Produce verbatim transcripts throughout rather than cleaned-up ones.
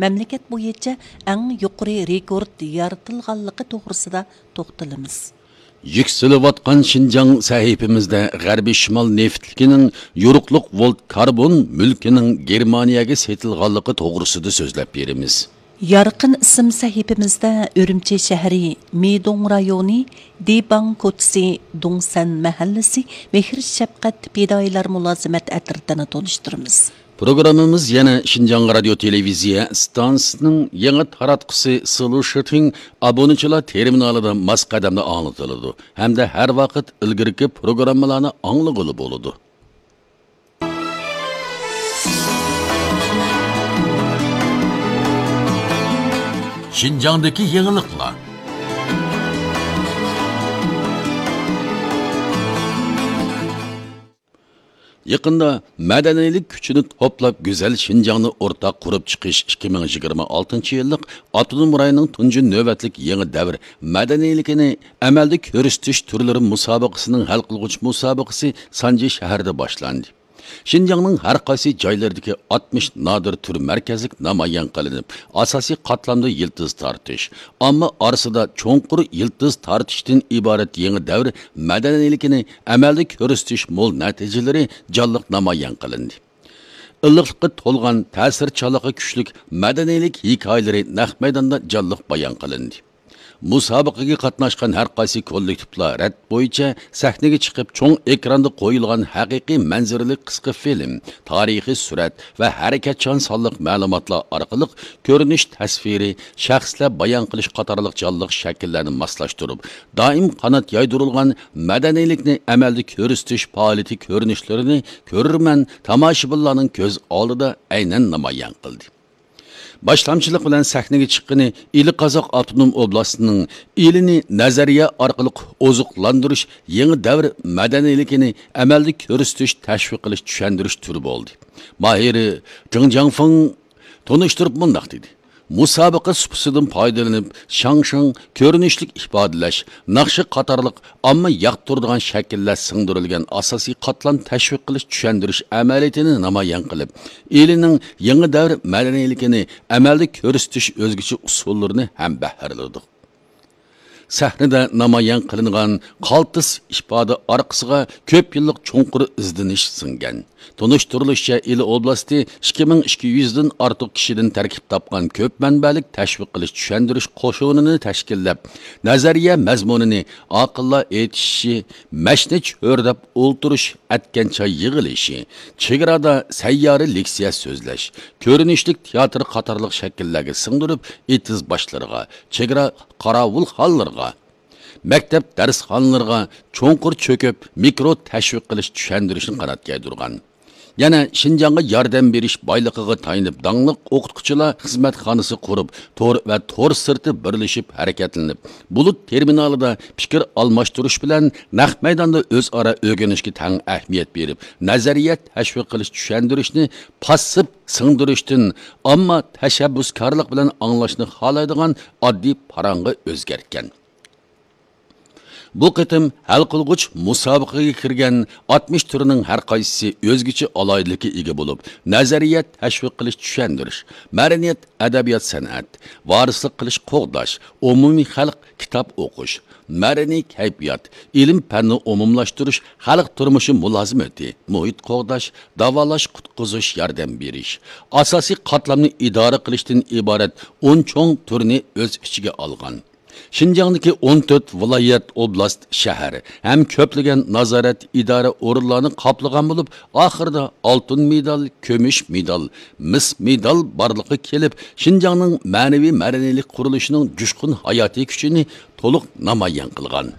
مەملىكەت بويىچە ئەڭ يۇقىرى رېكورت يارىتىلغانلىقى توغرىسىدا توختىلىمىز. يۈكسىلىۋاتقان شىنجاڭ سەھىپىمىزدە غەربىي شىمال نېفىتلىكىنىڭ يورۇقلۇق ۋولت كاربون مۈلكىنىڭ گېرمانىيەگە سېتىلغانلىقى توغرىسىدا سۆزلەپ بېرىمىز. يارقىن ئىسىم سەھىپىمىزدە ئۈرۈمچى شەھىرى، مىدوڭ رايونى، دىباڭ كوچىسى، دۇڭسەن مەھەللىسى، مېھىر شەپقەت پىدائىيلار مۇلازىمەت ئەترىتىنى تونۇشتۇرىمىز. پروگراممىمىز يەنە شىنجاڭ رادىيو تېلېۋىزىيە ئىستانسىسىنىڭ يېڭى تاراتقۇسى سلۇشىتىڭ ئابۇنىچىلار تېرمىنالىدا ماس قەدەمدە ئاڭلىتىلىدۇ ھەمدە ھەر ۋاقىت ئىلگىرىكى پروگراممىلارنى ئاڭلىغىلى بولىدۇ. شىنجاڭدىكى يېڭىلىقلار. يېقىندا مەدەنىيلىك كۈچىنى توپلاپ، گۈزەل شىنجاڭنى ئورتاق قۇرۇپ چىقىش ئىككى مىڭ يىگىرمە ئالتىنچى يىللىق ئاپتونوم رايوننىڭ تۇنجى نۆۋەتلىك يېڭى دەۋر مەدەنىيلىكىنى ئەمەلدە كۆرسىتىش تۈرلىرى مۇسابىقىسىنىڭ ھەل قىلغۇچ مۇسابىقىسى سانجى شەھىرىدە باشلاندى. شىنجاڭنىڭ ھەر قايسى جايلىرىدىكى ئاتمىش نادىر تۈر مەركەزلىك نامايان قىلىنىپ، ئاساسىي قاتلامدا يىلتىز تارتىش، ئامما ئارىسىدا چوڭقۇر يىلتىز تارتىشتىن ئىبارەت يېڭى دەۋر مەدەنىيلىكىنى ئەمەلدە كۆرسىتىش مول نەتىجىلىرى جانلىق نامايان قىلىندى. ئىللىقلىققا تولغان، تەسىرچانلىقى كۈچلۈك مەدەنىيلىك ھېكايىلىرى نەق مەيداندا جانلىق بايان قىلىندى. مۇسابىقىگە قاتناشقان ھەر قايسى كوللېكتىپلار رەت بويىچە سەھنىگە چىقىپ، چوڭ ئېكراندا قويۇلغان ھەقىقىي مەنزىرىلىك قىسقا فىلىم، تارىخىي سۈرەت ۋە ھەرىكەتچان سانلىق مەلۇماتلار ئارقىلىق كۆرۈنۈش تەسۋىرى، شەخسلەر بايان قىلىش قاتارلىق جانلىق شەكىللەرنى ماسلاشتۇرۇپ، دائىم قانات يايدۇرۇلغان مەدەنىيلىكنى ئەمەلدە كۆرسىتىش پائالىيىتى كۆرۈنۈشلىرىنى كۆرۈرمەن، تاماشىبىنلارنىڭ كۆز ئالدىدا ئەينەن نامايان قىلدى. باشلامچىلىق بىلەن سەھنىگە چىققىنى ئىلى قازاق ئاپتونوم ئوبلاستىنىڭ ئىلىنى نەزەرىيە ئارقىلىق ئوزۇقلاندۇرۇش يېڭى دەۋر مەدەنىيلىكىنى ئەمەلدە كۆرسىتىش، تەشۋىق قىلىش، چۈشەندۈرۈش تۈرى بولدى. ماھىرى جېڭ جياڭفېڭ تونۇشتۇرۇپ مۇنداق دېدى: مۇسابىقە سۇپىسىدىن پايدىلىنىپ، شاڭشىڭ كۆرۈنۈشلۈك ئىپادىلەش، ناخشا قاتارلىق ئامما ياقتۇرىدىغان شەكىللەر سىڭدۈرۈلگەن ئاساسىي قاتلام تەشۋىق قىلىش، چۈشەندۈرۈش ئەمەلىيىتىنى نامايان قىلىپ، ئىلىنىڭ يېڭى دەۋر مەدەنىيلىكىنى ئەمەلدە كۆرسىتىش ئۆزگىچە ئۇسۇللىرىنى ھەمبەھىرلىدۇق. سەھنىدە نامايان قىلىنغان قالتىس ئىپادە ئارقىسىغا كۆپ يىللىق چوڭقۇر ئىزدىنىش سىڭگەن. تونۇشتۇرۇلۇشىچە، ئىلى ئوبلاستى ئىككى مىڭ ئىككى يۈزدىن ئارتۇق كىشىدىن تەركىب تاپقان كۆپ مەنبەلىك تەشۋىق قىلىش، چۈشەندۈرۈش قوشۇنىنى تەشكىللەپ، نەزەرىيە مەزمۇنىنى ئاقىللار ئېيتىشى، مەشنە چۆرىدەپ ئولتۇرۇش، ئەتكەن چاي يىغىلىشى، چېگرادا سەييارە لېكسىيە سۆزلەش، كۆرۈنۈشلۈك تىياتىر قاتارلىق شەكىللەرگە سىڭدۈرۈپ، ئېتىز باشلىرىغا، چېگرا قاراۋۇلخانلىرىغا، مەكتەپ دەرسخانىلىرىغا چوڭقۇر چۆكۈپ، مىكرو تەشۋىق قىلىش، چۈشەندۈرۈشنى قانات يايدۇرغان. يەنە شىنجاڭغا ياردەم بېرىش بايلىقىغا تايىنىپ، داڭلىق ئوقۇتقۇچىلار خىزمەتخانىسى قۇرۇپ، تور ۋە تور سىرتى بىرلىشىپ ھەرىكەتلىنىپ، بۇلۇت تېرمىنالىدا پىكىر ئالماشتۇرۇش بىلەن نەق مەيداندا ئۆزئارا ئۆگىنىشكە تەڭ ئەھمىيەت بېرىپ، نەزەرىيە تەشۋىق قىلىش، چۈشەندۈرۈشنى پاسسىپ سىڭدۈرۈشتىن ئامما تەشەببۇسكارلىق بىلەن ئاڭلاشنى خالايدىغان ئاددىي پاراڭغا ئۆزگەرتكەن. بۇ قېتىم ھەل قىلغۇچ مۇسابىقىگە كىرگەن ئاتمىش تۈرنىڭ ھەر قايسىسى ئۆزگىچە ئالاھىدىلىككە ئىگە بولۇپ، نەزەرىيە تەشۋىق قىلىش، چۈشەندۈرۈش، مەدەنىيەت، ئەدەبىيات، سەنئەت، ۋارىسلىق قىلىش، قوغداش، ئومۇمىي خەلق كىتاب ئوقۇش، مەدەنىي كەيپىيات، ئىلىم پەننى ئومۇملاشتۇرۇش، خەلق تۇرمۇشى مۇلازىمىتى، مۇھىت قوغداش، داۋالاش، قۇتقۇزۇش، ياردەم بېرىش، ئاساسىي قاتلامنى ئىدارە قىلىشتىن ئىبارەت ئون چوڭ تۈرنى ئۆز ئىچىگە ئالغان. شىنجاڭدىكى ئون تۆت ۋىلايەت، ئوبلاست، شەھەر ھەم كۆپلىگەن نازارەت، ئىدارە ئورۇنلارنى قاپلىغان بولۇپ، ئاخىرىدا ئالتۇن مېدال، كۈمۈش مېدال، مىس مېدال بارلىققا كېلىپ، شىنجاڭنىڭ مەنىۋى مەدەنىيلىك قۇرۇلۇشىنىڭ جۇشقۇن ھاياتىي كۈچىنى تولۇق نامايان قىلغان.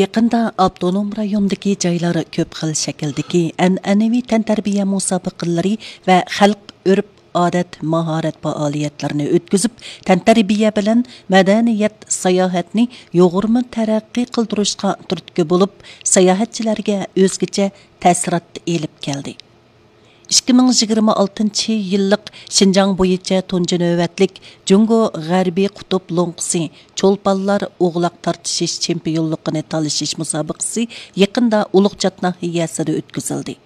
يېقىندا ئاپتونوم رايوندىكى جايلار كۆپ خىل شەكىلدىكى ئەنئەنىۋى تەنتەربىيە مۇسابىقىلىرى ۋە خەلق ئۆرپ ئادەت، ماھارەت پائالىيەتلىرىنى ئۆتكۈزۈپ، تەنتەربىيە بىلەن مەدەنىيەت، ساياھەتنى يۇغۇرما تەرەققىي قىلدۇرۇشقا تۈرتكە بولۇپ، ساياھەتچىلەرگە ئۆزگىچە تەسىرات ئېلىپ كەلدى. ئىككى مىڭ يىگىرمە ئالتىنچى يىللىق شىنجاڭ بويىچە تۇنجى نۆۋەتلىك جۇڭگو غەربىي قۇتۇپ لوڭقىسى چولپانلار ئوغلاق تارتىشىش چېمپىيونلۇقىنى تالىشىش مۇسابىقىسى يېقىندا ئۇلۇغچات ناھىيەسىدە ئۆتكۈزۈلدى.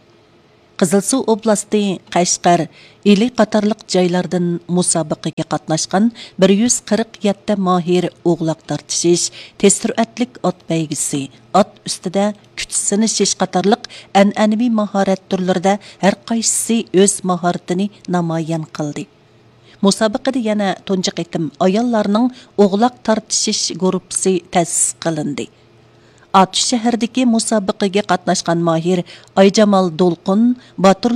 قىزىلسۇ ئوبلاستى، قەشقەر، ئىلى قاتارلىق جايلاردىن مۇسابىقىگە قاتناشقان بىر يۈز قىرىق يەتتە ماھىر ئوغلاق تارتىشىش، تېز سۈرئەتلىك ئات بەيگىسى، ئات ئۈستىدە كۈچ سىنىشىش قاتارلىق ئەنئەنىۋى ماھارەت تۈرلىرىدە ھەر قايسىسى ئۆز ماھارىتىنى نامايان قىلدى. مۇسابىقىدە يەنە تۇنجى قېتىم ئاياللارنىڭ ئوغلاق تارتىشىش گۇرۇپپىسى تەسىس قىلىندى. ئاتۇش شەھىرىدىكى مۇسابىقىگە قاتناشقان ماھىر ئايجامال دولقۇن باتۇرلۇق